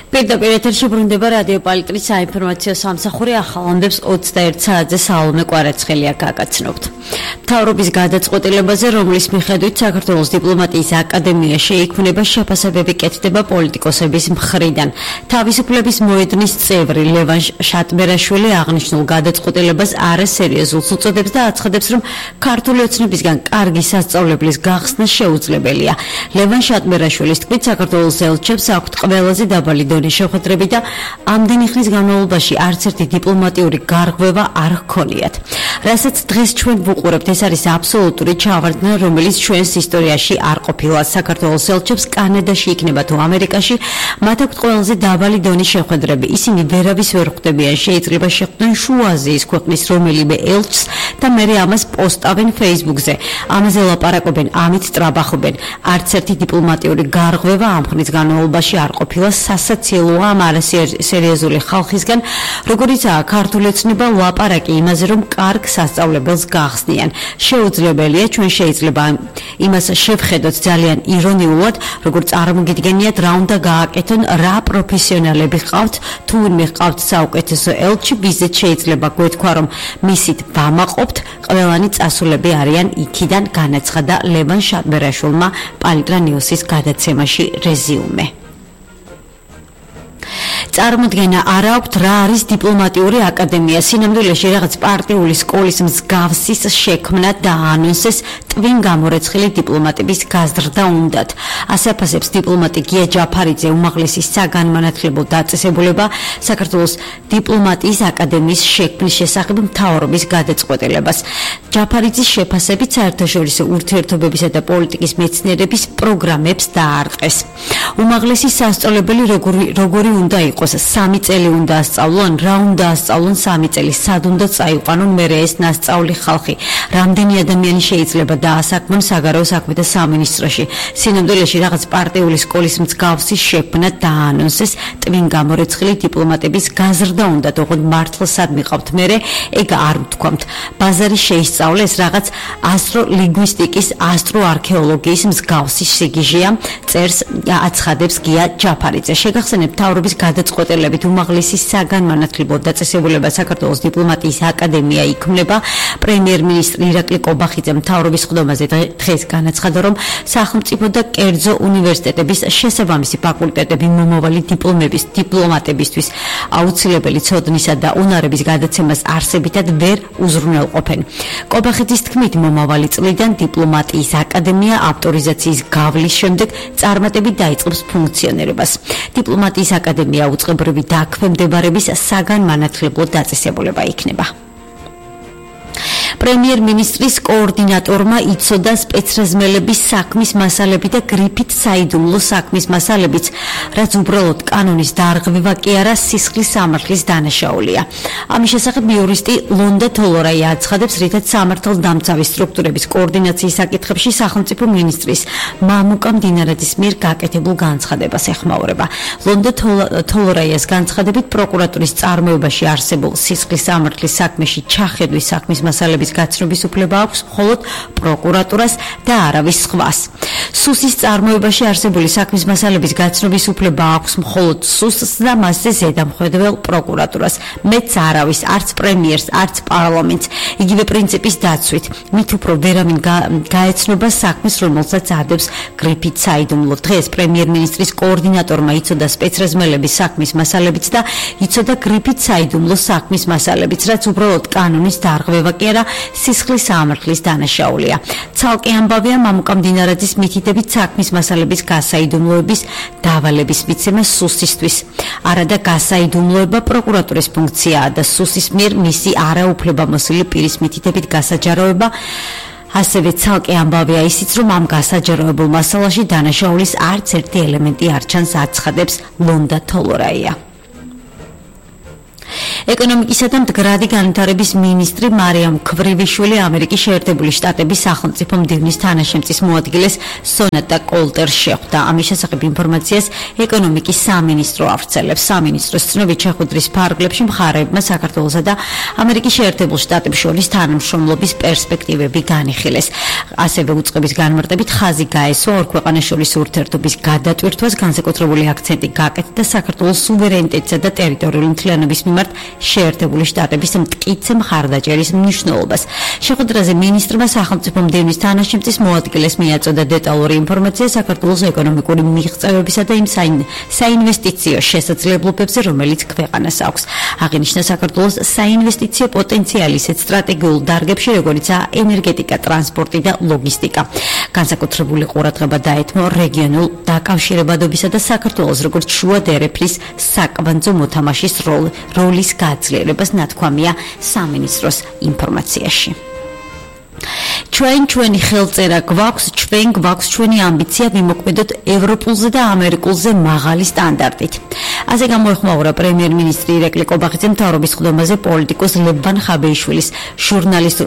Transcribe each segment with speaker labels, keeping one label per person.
Speaker 1: პირდაპირ ეთერში ბრუნდება რადიო პალიტრის საინფორმაციო სამსახური ახალამდებს 21 საათზე საალმე კვარაცხელია გაგაცნობთ. მთავრობის გადაწყვეტილებაზე, რომლის მიხედვით საქართველოს დიპლომატიის აკადემია შეიქმნება, შეფასებები კეთდება პოლიტიკოსების მხრიდან. თავისუფლების მოედნის წევრი ლევან შატბერაშვილი აღნიშნულ გადაწყვეტილებას არასერიოზულს უწოდებს და აცხადებს, რომ ქართული ოცნებისგან კარგი სასწავლებლის გახსნა შეუძლებელია. ლევან შატბერაშვილის თქმით, საქართველოს ელჩებს აქვთ ყველაზე დაბალი დონის შეხვედრები და ამდენი ხნის განმავლობაში არც ერთი დიპლომატიური გარღვევა არ ჰქონიათ. რასაც დღეს ჩვენ ვუყურებთ, ეს არის აბსოლუტური ჩავარდნა, რომელიც ჩვენს ისტორიაში არ ყოფილა. საქართველოს ელჩებს კანადაში იქნება თუ ამერიკაში, მათ აქვთ ყველაზე დაბალი დონის შეხვედრები. ისინი ვერავის ვერ ხვდებიან, შეიძლება შეხვდნენ შუა აზიის ქვეყნის რომელიმე ელჩს და მერე ამას პოსტავენ Facebook-ზე. ამაზე ლაპარაკობენ, ამით ტრაბახობენ. არც ერთი დიპლომატიური გარღვევა ამ ხნის განმავლობაში არ ყოფილა. სასაცილოა ამ არასერიოზული ხალხისგან, როგორიცაა ქართული ოცნება, ლაპარაკი იმაზე, რომ კარგ სასწავლებელს გახსნიან. შეუძლებელია, ჩვენ შეიძლება იმას შევხედოთ ძალიან ირონიულად, როგორც წარმოგიდგენიათ, რა უნდა გააკეთონ, რა პროფესიონალები ყავთ, თუ ვინმე ყავთ საუკეთესო ელჩი, ვიზეთ შეიძლება გვეთქვა, რომ მისით ვამაყობთ, ყველანი წასულები არიან იქიდან, განაცხადა ლევან შატბერაშვილმა პალიტრა ნიუსის გადაცემაში რეზიუმე. წარმოდგენა არ აქვთ, რა არის დიპლომატიური აკადემია. სინამდვილეში რაღაც პარტიული სკოლის მსგავსის შექმნა და ანონსეს ტვინ გამორეცხილი დიპლომატების გაზრდა უნდათ. ასე აფასებს დიპლომატი გია ჯაფარიძე, უმაღლესი საგანმანათლებლო დაწესებულება საქართველოს დიპლომატიის აკადემიის შექმნის შესახებ მთავრობის გადაწყვეტილებას. ჯაფარიძის შეფასებით საერთაშორისო ურთიერთობებისა და პოლიტიკის მეცნიერების პროგრამებს დაარტყეს. უმაღლესი სასწავლებელი როგორი უნდა იყოს? 3 წელი უნდა ასწავლონ, რა უნდა ასწავლონ 3 წელი, სად უნდა წაიყვანონ მერე ეს ნასწავლი ხალხი, რამდენი ადამიანი შეიძლება დაასაქმონ საგარეო საქმეთა სამინისტროში. სინამდვილეში რაღაც პარტიული სკოლის მსგავსი შექმნა დაანონსეს, ტვინ გამორეცხილი დიპლომატების გაზრდა უნდა, თქო მართლსად მიყავთ მერე, ეგ არ ვთქვამთ. ბაზარი შეისწავლეს, რაღაც ასტროლინგვისტიკის, ასტროარქეოლოგიის მსგავსი სიგიჟეა, წერს აცხადებს გია ჯაფარიძე. შეგახსენებთ, მთავრობის გადაწყვეტილებით უმაღლესი საგანმანათლებლო დაწესებულება საქართველოს დიპლომატიის აკადემია იქმნება. პრემიერ-მინისტრი ირაკლი კობახიძე მთავრობის ხდომაზე დღეს განაცხადა, რომ სახელმწიფო და კერძო უნივერსიტეტების შესაბამისი ფაკულტეტები მომავალი დიპლომატებისთვის აუცილებელი ცოდნისა და უნარების გადაცემას არსებითად ვერ უზრუნველყოფენ. კობახიძის თქმით, მომავალი წლიდან დიპლომატიის აკადემია ავტორიზაციის გავლის შემდეგ წარმატებით დაიწყებს ფუნქციონირებას. დიპლომატიის აკადემია უწყებრივი დაქვემდებარების საგანმანათლებლო დაწესებულება იქნება. პრემიერ-მინისტრის კოორდინატორმა იცოდა სპეცრაზმელების საქმის მასალები და გრიფით საიდუმლო საქმის მასალებიც, რაც უბრალოდ კანონის დარღვევა კი არა, სისხლის სამართლის დანაშაულია. ამის შესახებ იურისტი ლონდა თოლორაია აცხადებს, რითაც სამართალდამცავი სტრუქტურების კოორდინაციის საკითხებში სახელმწიფო მინისტრის მამუკა მდინარაძის მიერ გაკეთებულ განცხადებას ეხმაურება. ლონდა თოლორაიას განცხადებით, პროკურატურის წარმოებაში არსებულ სისხლის სამართლის საქმეში ჩახედვის საქმის მასალების გაცნობის უფლება აქვს მხოლოდ პროკურატურას და არავის სხვას. სუსის წარმოებაში არსებული საქმის მასალების გაცნობის უფლება აქვს მხოლოდ სუსს და მასზე ზედამხედველ პროკურატურას. მეც არავის, არც პრემიერს, არც პარლამენტს. იგივე პრინციპის დაცვით, მით უფრო ვერავინ გაეცნობა საქმეს, რომელსაც ადევს გრიფით საიდუმლო. დღეს პრემიერ-მინისტრის კოორდინატორმა იცოდა სპეცრაზმელების საქმის მასალებიც და იცოდა გრიფით საიდუმლო საქმის მასალებიც, რაც უბრალოდ კანონის დარღვევა კი არა, სისხლის სამართლის დანაშაულია. ცალკე ამბავია მამუკა მდინარაძის მითითებით საქმის მასალების გასაიდუმლოების დავალების მიცემა სუსისთვის. არადა გასაიდუმლოება პროკურატურის ფუნქციაა და სუსის მიერ მისი არაუფლებამოსილი პირის მითითებით გასაჯაროება. ასევე ცალკე ამბავია ისიც, რომ ამ გასაჯაროებულ მასალაში დანაშაულის არც ერთი ელემენტი არ ჩანს, აცხადებს ლონდა თოლორაია. ეკონომიკისა და მდგრადი განვითარების მინისტრი მარიამ ქვრივიშვილი ამერიკის შეერთებული შტატების სახელმწიფო მდივნის თანაშემწის მოადგილეს სონატა კოლტერს შეხვდა. ამის შესახებ ინფორმაციას ეკონომიკის სამინისტრო ავრცელებს. სამინისტროს ცნობით შეხვედრის ფარგლებში მხარეებმა საქართველოსა და ამერიკის შეერთებულ შტატებს შორის თანამშრომლობის პერსპექტივები განიხილეს. ასევე უწყების განმარტებით ხაზი გაესვა ორ ქვეყანას შორის ურთიერთობის გადატვირთვას, განსაკუთრებული აქცენტი გაკეთდა საქართველოს სუვერენიტეტისა და ტერიტორიული მთლიანობის მიმართ შეერთებული შტატების მტკიცე მხარდაჭერის მნიშვნელობას. შეხვედრაზე მინისტრმა სახელმწიფო მდივნის თანაშემწის მოადგილეს მიაწოდა დეტალური ინფორმაცია საქართველოს ეკონომიკური მიღწევებისა და იმ საინვესტიციო შესაძლებლობებზე, რომელიც ქვეყანას აქვს. აღინიშნა საქართველოს საინვესტიციო პოტენციალი ისეთ სტრატეგიულ დარგებში, როგორიცაა ენერგეტიკა, ტრანსპორტი და ლოგისტიკა. განსაკუთრებული ყურადღება დაეთმო რეგიონულ დაკავშირებადობისა და საქართველოს როგორც შუა დერეფნის საკვანძო მოთამაშის როლის გაძლიერებას, ნათქვამია სამინისტროს ინფორმაციაში. ჩვენი ხელწერა გვაქვს, ჩვენი ამბიცია ვიმოქმედოთ ევროპულზე და ამერიკულზე მაღალი სტანდარტით. ასე გამოეხმაურა პრემიერ-მინისტრი ირაკლი კობახიძე მთავრობის ხდომაზე პოლიტიკოს ლევან ხაბეიშვილის, ჟურნალისტ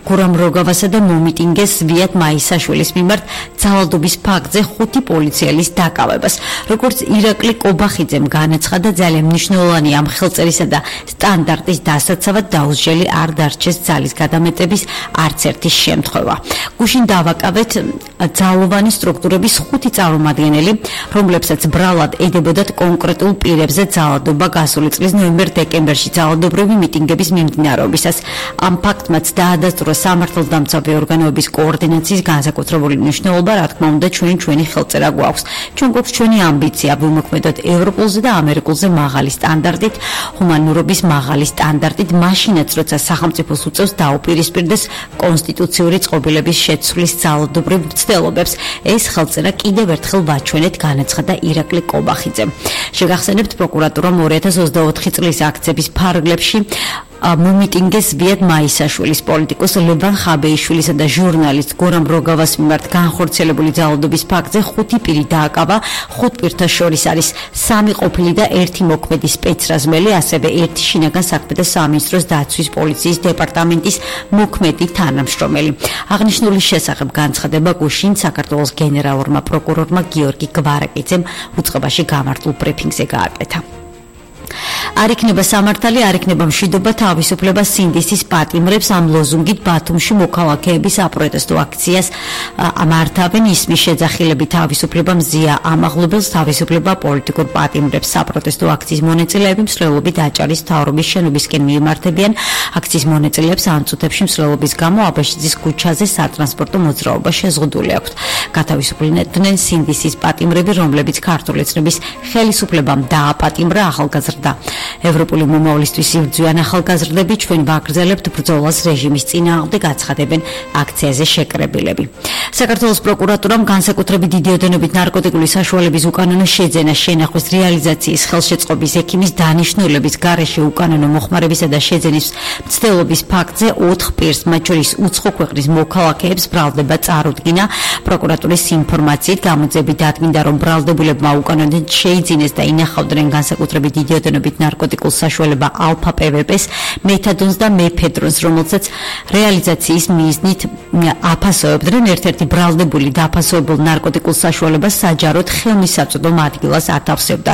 Speaker 1: გურამ როგავასა და მომიტინგეს ზვიად მაისაშვილის მიმართ ძალადობის ფაქტზე 5 პოლიციელის დაკავებას. როგორც ირაკლი კობახიძემ განაცხადა, ძალიან მნიშვნელოვანია ამ ხელწერისა და სტანდარტის დასაცავად დაუსჯელი არ დარჩეს ძალის გადამეტების არც ერთი შემთხვევა. გუშინ დავაკავეთ ძალოვანი სტრუქტურების 5 წარმომადგენელი, რომლებსაც ბრალად ედებოდათ კონკრეტულ პირებზე ძალადობა გასული წლის ნოემბერ-დეკემბერში ძალადობრივი მიტინგების მიმდინარეობისას. ამ ფაქტმაც დაადასტურა სამართალდამცავი ორგანოების კოორდინაციის განსაკუთრებული მნიშვნელობა, რა თქმა უნდა, ჩვენი ხელწერა გვაქვს. ჩვენ გვაქვს ჩვენი ამბიცია ვიმოქმედოთ ევროპულზე და ამერიკულზე მაღალი სტანდარტით, ჰუმანურობის მაღალი სტანდარტით, მაშინაც როცა სახელმწიფოს უწევს დაუპირისპირდეს კონსტიტუციური წყობილების შეცვლის ძალადობრივ მცდელობებს. ეს ხელწერა კიდევ ერთხელ ვაჩვენეთ, განაცხადა ირაკლი კობახიძემ. შეგახსენებთ, პროკურატურამ 2024 წლის აქციების ფარგლებში მომიტინგეს ზვიად მაისაშვილის, პოლიტიკოს ლევან ხაბეიშვილისა და ჟურნალისტ გურამ როგავას მიმართ განხორციელებული ძალადობის ფაქტზე 5 პირი დააკავა. 5 პირთა შორის არის 3 ყოფილი და 1 მოქმედი სპეცრაზმელი, ასევე 1 შინაგან საქმეთა სამინისტროს დაცვის პოლიციის დეპარტამენტის მოქმედი თანამშრომელი. აღნიშნულის შესახებ განცხადება გუშინ საქართველოს გენერალურმა პროკურორმა გიორგი გვარაკიძემ უწყებაში გამართულ ბრიფინგზე გააკეთა. არ იქნება სამართალი, არ იქნება მშვიდობა, თავისუფლება სინდისის პატიმრებს. ამ ლოზუნგით ბათუმში მოქალაქეები საპროტესტო აქციას მართავენ. ისმის შეძახილები თავისუფლება მზია ამაღლებელს, თავისუფლება პოლიტიკურ პატიმრებს. საპროტესტო აქციის მონაწილეები მსვლელობით აჭარის მთავრობის შენობისკენ მიმართებიან. აქციის მონაწილეებს ამ წუთებში მსვლელობის გამო აბაშიძის ქუჩაზე სატრანსპორტო მოძრაობა შეზღუდული აქვთ. გათავისუფლდნენ სინდისის პატიმრები, რომლებიც ქართული ეთნობის ხელისუფლებამ დააპატიმრა. ახალგაზრდა ევროპული მომავლისთვის იბრძვიან ახალგაზრდები, ჩვენ ვაგრძელებთ ბრძოლას რეჟიმის წინააღმდეგ, აცხადებენ აქციაზე შეკრებილები. საქართველოს პროკურატურამ განსაკუთრებით დიდი ოდენობით ნარკოტიკული საშუალების უკანონო შეძენა, შენახვის რეალიზაციის, ხელშეწყობის, ექიმის დანიშნულების გარეშე უკანონო მოხმარებისა და შეძენის მცდელობის ფაქტზე 4 პირს, მათ შორის უცხო ქვეყნის მოქალაქეებს ბრალდება წარუდგინა. პროკურატურის ინფორმაციით გამოძიებით დადგინდა, რომ ბრალდებულებმა უკანონოდ შეიძინეს და ინახავდნენ განსაკუთრებით დიდი ოდენობით ნარკოტიკულ საშუალება ალფა პვპ-ს, მეთადონს და მეფედრონს, რომელსაც რეალიზაციის მიზნით აფასოებდნენ. ერთ-ერთი ბრალდებული დაფასოებულ ნარკოტიკულ საშუალებას საჯაროდ ხელმისაწვდომ ადგილას ათავსებდა.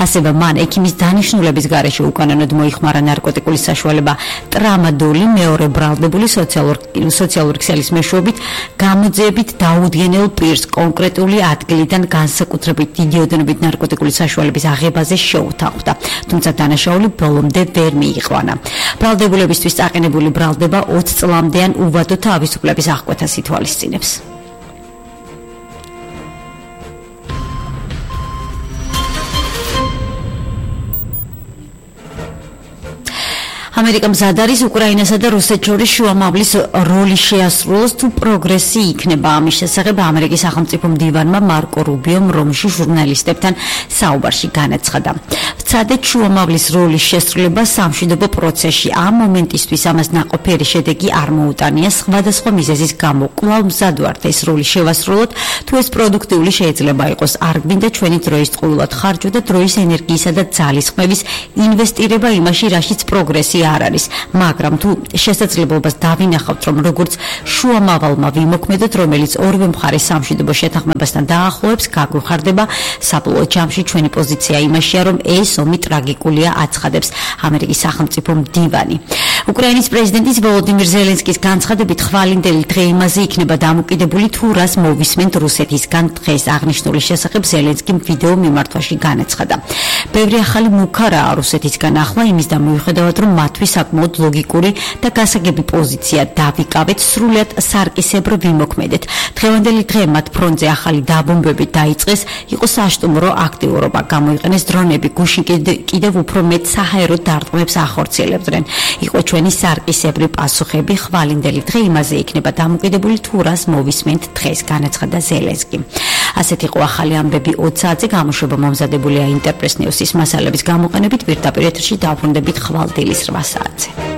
Speaker 1: ასევე მან ექიმის დანიშნულების გარეშე უკანონოდ მოიხმარა ნარკოტიკული საშუალება ტრამადოლი, მეორე ბრალდებული სოციალური ქსელის მეშვეობით გამოძიებით დაუდგენელ პირს კონკრეტული ადგილიდან განსაკუთრებით დიდი ოდენობით ნარკოტიკული საშუალების აღებაზე შეუთანხმდა. თუმცა დანაშაული ბოლომდე ვერ მიიყვანა. ბრალდებულებისთვის წაყენებული ბრალდება 20 წლამდეან უვადო თავისუფლების აღკვეთას ითვალისწინებს. ამერიკა მზად არის უკრაინასა და რუსეთს შორის შუამავლის როლის შეასრულოს თუ პროგრესი იქნება. ამის შესახებ ამერიკის სახელმწიფო მდივანმა მარკო რუბიომ რომში ჟურნალისტებთან საუბარში განაცხადა. ვცადეთ შუამავლის როლის შესრულება სამშვიდობო პროცესში. ამ მომენტისთვის ამას ნაყოფიერი შედეგი არ მოუტანია. სხვადასხვა მიზეზის გამო კვლავ მზად ვართ ეს როლი შევასრულოთ, თუ ეს პროდუქტიული შეიძლება იყოს. არ გვინდა ჩვენი დროის ტყუილად ხარჯვა და დროის ენერგიისა და ძალისხმევის ინვესტირება იმაში, რაშიც პროგრესი არ არის, მაგრამ თუ შესაძლებლობას დავინახავთ, რომ როგორც შუამავალმა ვიმოქმედოთ, რომელიც ორივე მხარეს სამშვიდობო შეთანხმებასთან დაახლოებს, გაგვიხარდება საბოლოო ჯამში ჩვენი პოზიცია იმაშია, რომ ეს ომი ტრაგიკულია, აცხადებს ამერიკის სახელმწიფო მდივანი. უკრაინის პრეზიდენტის ვოლოდიმირ ზელენსკის განცხადებით ხვალინდელი დღე იმაზე იქნება დამოკიდებული, თუ რას მოვისმენთ რუსეთისგან. დღეს აღნიშნული შესახებ ზელენსკიმ ვიდეო მიმართვაში განაცხადა. ბევრი ახალი მუქარაა რუსეთისგან ახლა იმის და მიუხედავად, რომ მათთვის საკმაოდ ლოგიკური და გასაგები პოზიცია დავიკავეთ, სრულად სარკისებრო ვიმოქმედეთ. დღევანდელი დღე მათ ფრონტზე ახალი დაბომბვები დაიწყეს, იყო საშტუმრო აქტიურობა, გამოიყენეს დრონები, გუშინ კიდევ უფრო მეტ საჰაერო დარტყმებს ახორციელებდნენ. იყო ჩვენი სარკისებრი პასუხები, ხვალინდელი დღე იმაზე იქნება დამოკიდებული, თუ რას მოვისმენთ დღეს, განაცხადა ზელენსკი. ასეთ იყო ახალი ამბები 20 საათზე, გამოშვება მომზადებულია ინტერპრეს ნიუსის მასალების გამოყენებით, პირდაპირ ეთერში დავბრუნდებით ხვალ დილის 8 საათზე.